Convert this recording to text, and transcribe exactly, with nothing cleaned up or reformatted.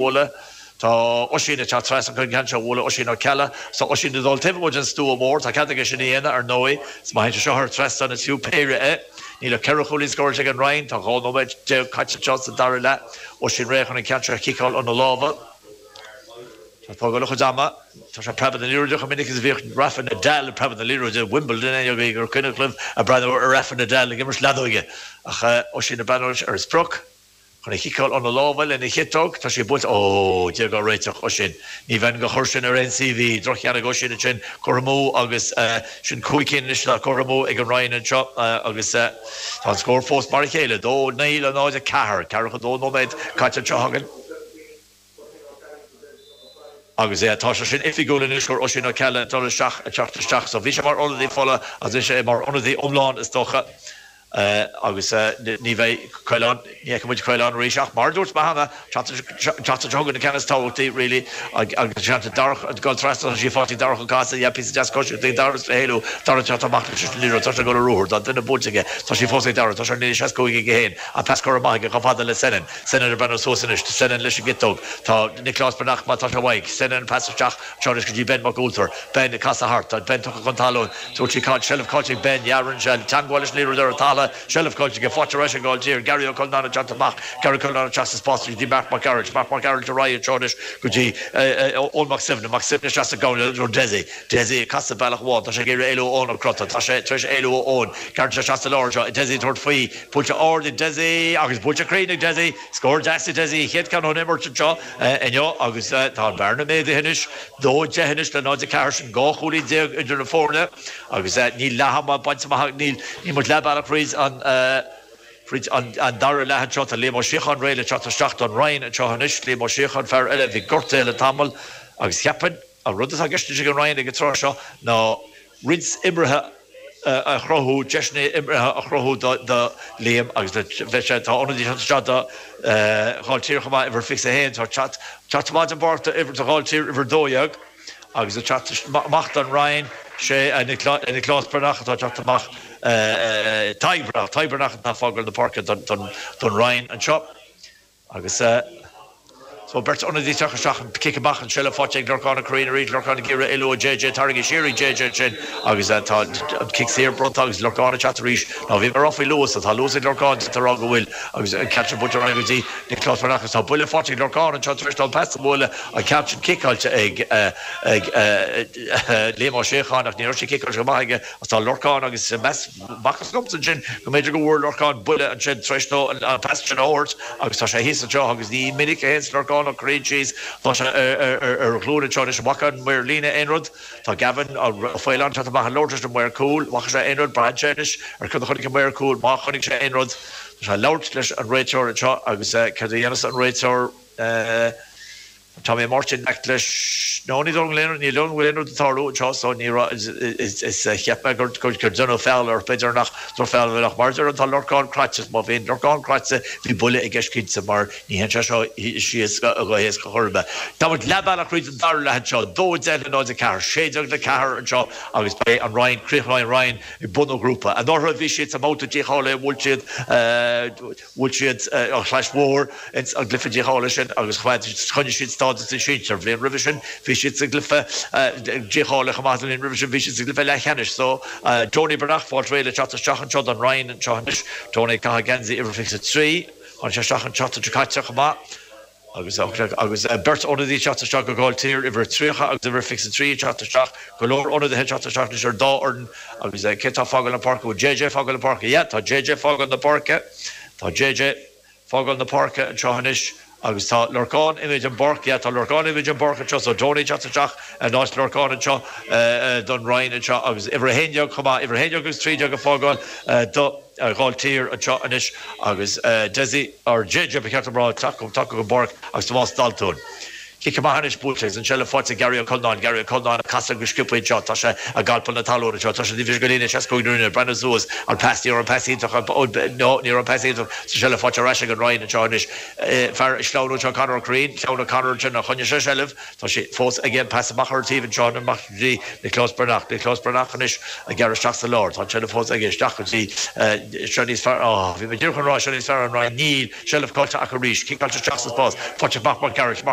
Bualadh. Tá Oisín ag teacht trasna chun an ceann seo a bhualadh, Oisín Ó Ceallaigh. Tá Oisín ag dul taobh amuigh den stua mór. Tá cead aige sin a dhéanamh, ar ndóigh. Is má théann sé seo thar trasnán is fiú péire é. Níl ach ceithre chúilín scóráilte ag an Rinn. Tá dhá nóiméad déag caite anseo sa dara leath. Oisín réidh chun an ceann seo a chiceáil óna lámha. Tá ag fágáil a chuid ama. Tá sé ag preabadh na liathróide chomh minic is a bhíodh Rafa Nadal ag preabadh na liathróide i Wimbledon. Éinne agaibh gur cuimhin libh ag breathnú ar Rafa Nadal ag imirt leadóige. Ach Oisín ag breathnú ar a sprioc. Chun a chiceáil óna lámha lena chiotóg. Tá sé buailte. Ó, Dia dhá réiteach, Oisín. Ní bheinn ag cur sin ar aon CV. Droch-cheann ag Oisín ansin. Curtha amú agus sin cúig cinn anois atá curtha amú ag an Rinn anseo agus tá an scór fós mar a chéile, dó naoi le náid a ceathair. Ceathracha dó nóiméad caite anseo againn. Agus tá sé sin oifigiúil anois gur Oisín Ó Ceallaigh ag dul isteach, ag teacht isteach. So bhí sé mar ionadaí fola agus anois é mar ionadaí iomlán is dócha. Agus ní bheidh Caolán, ní fheicfidh muid Caolán arís ach mar a dúirt mé cheana, an tseachtain seo chugainn an ceann is tábhachtaí really agus an seans Darach ag dul trasna, tá sí faighte ag Darach Ó Cathasaigh, yeah, píosa deas coisíochta ag Darach is le héalú, Darach ag teacht amach leis an liathróid, tá sé ag dul ar ruathar, tá duine buailte aige, tá sí fós ag Darach, tá sé ar an líne seasca cúig aige féin, an pas curtha amach aige chomh fada le Senan, Senan ag breathnú suas anois, Senan leis an gciotóg, tá Nioclás Breathnach, má tá sé uaidh, Senan an pas isteach anseo anois go dtí Ben Mac Ualtair, Ben ag casadh thart, tá Ben tugtha chun talún, Dúirt sí Caid, seilbh caillte ag Ben, yeah, rinne sé teagmháil leis an liathróid ar an talamh, seilbh caillte aige, faighte ar ais ag Gailltír, Gary Ó Cuinneanáin ag teacht amach, Gary Ó Cuinneanáin ag teacht sa spás go dtí Mark Mac Gearailt, Mark Mac Gearailt ar aghaidh anseo anois go dtí Eoin Mac Suibhne, Mac Suibhne isteach sa gcúinne, Dessie, Dessie ag casadh bealach amháin, tá sé ag iarraidh éalú ó Eoin Ó Crotta, tá sé tar éis éalú ó Eoin, gearrann sé isteach sa lár anseo, Dessie ag tabhairt faoi, buailte ard ag Dessie agus buailte cruinn ag Dessie, scór deas ag Dessie, a chéad ceann ón imirt anseo inniu agus tá an bhearna méadaithe anois, dó deich anois le náid a ceathair, sin dhá chúilín déag idir na foirne agus níl leath ama bainte amach, níl níl muid leath bealach thríd an thríd an an dara leath anseo. Tá Liam Ó Síocháin réidh le teacht isteach don Rinn anseo anois. Liam Ó Síocháin, fear eile a bhí gortaithe le tamall agus cheapfainn an rud atá i gceist anois ag an Rinn ag an tráth seo ná roinnt imeartha a chruthú, deiseanna imeartha a chruthú do do Liam agus le bheith sé, tá ionadaí ag teacht isteach do Ghailltír chomh maith, uimhir fiche a haon, tá teacht teacht amach den bpáirc do uimhir do Ghailltír uimhir dó dhéag agus ag teacht amach don Rinn, sé Nioclás Breathnach atá ag teacht amach, Tadhg Breathnach, Tadhg Breathnach atá ag fágáil na páirce don Rinn anseo agus. So beirt ionadaí ag teacht isteach, an cic amach an seilbh faighte ag Lorcán Ó Curraoin arís, Lorcán ag iarraidh éalú ó JJ, tarraingthe siar ag JJ ansin agus tá an cic saor bronnta agus Lorcán ag teacht arís. Now bhí mé ag rá faoi luas, tá luas ag Lorcán, d'fhéadfá a rá go bhfuil agus an ceann sin buailte ar aghaidh go dtí Nioclás Breathnach agus tá buille faighte ag Lorcán anseo tar éis dó an pas a bhualadh, an ceann sin ciceáilte ag ag Liam Ó Síocháin ach ní raibh sé ciceáilte go maith aige agus tá Lorcán agus meas Bhfacthas domsa ansin go mb'fhéidir go bhfuair Lorcán buille ansin tar éis dó an pas sin a thabhairt agus tá sé thíos anseo agus ní minic a théanns Lorcán Ó Curraoin síos. Tá sé ar a ghlúine anseo anois. An bhfaca an maor líne aon rud? Tá Gavin Ó Faoláin ag teacht amach ag labhairt leis an maor cúil. An bhfaca sé aon rud? Braitheann sé anois ar cad a chonaic an maor cúil. Má chonaic sé aon rud, tá sé ag labhairt leis an réiteoir anseo agus céard a dhéanfas an réiteoir? Tá mé Máirtín Mac leis. No, ní dóigh liom go bhfuil aon rud, ní dóigh liom go bhfuil aon rud ag tarlú anseo so ní raibh, is, is, cheap mé gur, gur, gur deineadh feall air, b'fhéidir nach drochfheall a bhí ach mar a deirim tá Lorcán craite, má bhíonn Lorcán craite bhí buille i gceist cinnte mar ní théann sé seo síos go héasca chor ar bith. Tá muid leath bealach thríd an dara leath anseo, dó a deich le náid a ceathair, sé déag le ceathair anseo agus beidh an Rinn, críochnóidh an Rinn ag bun an ghrúpa. Anuraidh bhí siad sa mbabhta dícháilithe, bhuail siad, Bhuail siad an Chlais Mhór ins an gcluiche dícháilithe sin agus choinnigh siad stádas na sinsear. An bhliain roimhe sin bhí siad sa gcluiche dícháilithe chomh maith. An bhliain roimhe sin bhí siad sa gcluiche leathcheannais. So, Tony Breathnach, fáilte réidh le teacht isteach anseo don Rinn anseo anois. Tony ag caitheamh geansaí uimhir fiche a trí. Tháinig sé isteach an tseachtain seo caite chomh maith. Agus agus beirt ionadaí ag teacht isteach do Ghailltír, uimhir tríocha agus uimhir fiche a trí ag teacht isteach, go leor ionadaithe ag teacht isteach anois ar an dá fhoireann agus cé atá ag fágáil na páirce? Bhfuil JJ ag fágáil na páirce? Yeah, tá JJ ag fágáil na páirce. Tá JJ ag fágáil na páirce anseo anois agus tá Lorcán imithe den bpáirc. Yeah, tá Lorcán imithe den bpáirc anseo so Tony ag teacht isteach in áit Lorcán anseo don Rinn anseo agus uimhir a haon déag chomh maith, uimhir a haon déag agus trí déag ag fágáil do. Ghailltír anseo anois agus Dessie, or JJ ba cheart dom a rá, ag teacht tagtha den bpáirc agus Tomás Daltún. Cic amach anois buailte agus an tseilbh faighte ag Gary Ó Conláin, Gary Ó Conláin ag casadh go sciobtha anseo, tá sé ag alpadh na talún anseo, tá sé taobh thiar de líne seasca cúig na Rinne, breathnú suas, an pas, ní raibh an pas iontach, no, ní raibh an pas iontach, tá an tseilbh faighte ar ais ag an Rinn anseo anois, fear ag sleamhnú anseo Conor Ó Curraoin, sleamhnaigh Conor ansin ach choinnigh sé seilbh, tá sé fós aige, pas amach ar an taobh anseo, amach go dtí Nioclás Breathnach, Nioclás Breathnach anois ag gearradh isteach sa lár, tá an tseilbh fós aige, isteach go dtí seo níos fearr, á, bhí mé díreach chun rá seo níos fearr an Rinn, níl, seilbh caillte acu arís, ciceáilte isteach sa spás, faighte ag Mark Mac Gearailt, Mark